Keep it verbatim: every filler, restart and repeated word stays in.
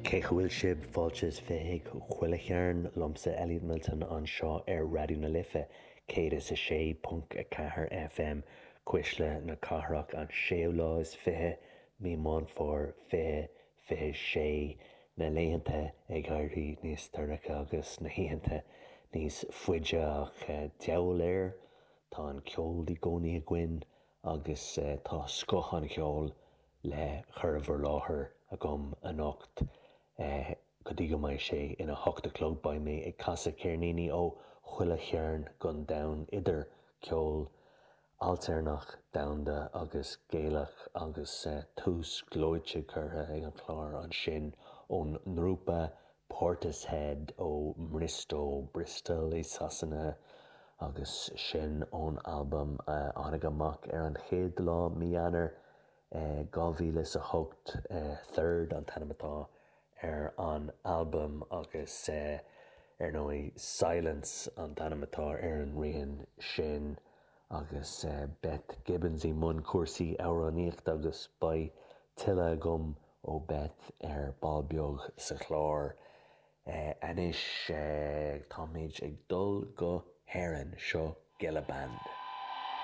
Cén chaoi a bhfuil sibh fáilte is fiche chuig Chuile Chearn liomsa Elliot Milton anseo ar Raidió na Life céad is a sé ponc a ceathair FM Cuisle na Cathrach an séú lá is fiche mí Meán Fómhair fiche fiche sé na laethanta ag éirí níos dorcha agus na hoícheanta níos faide ach deabhal air tá an ceol i gcónaí againn agus tá scoth an cheoil le cur i bhur láthair agam anocht go dtí go mbeidh sé ina hocht a chlog beidh mé ag casadh ceirníní ó chuile chearn den domhan idir ceol ailtéarnach domhanda agus Gaelach agus tús gleoite curtha ag an chlár ansin ón ngrúpa Portishead ó mBriostó Bristol i Sasana agus sin ón albam tháinig amach ar an chéad lá mí Eanáir dhá mhíle is a hocht Third an t-ainm atá ar an albam agus ar ndóigh Silence an t-ainm atá ar an rian sin agus Beth Gibbons i mbun cúrsaí amhránaíochta agus beidh tuilleadh agam ó Beth ar ball beag sa chlár. Anois táimid ag dul go hÉirinn seo Gilla Band.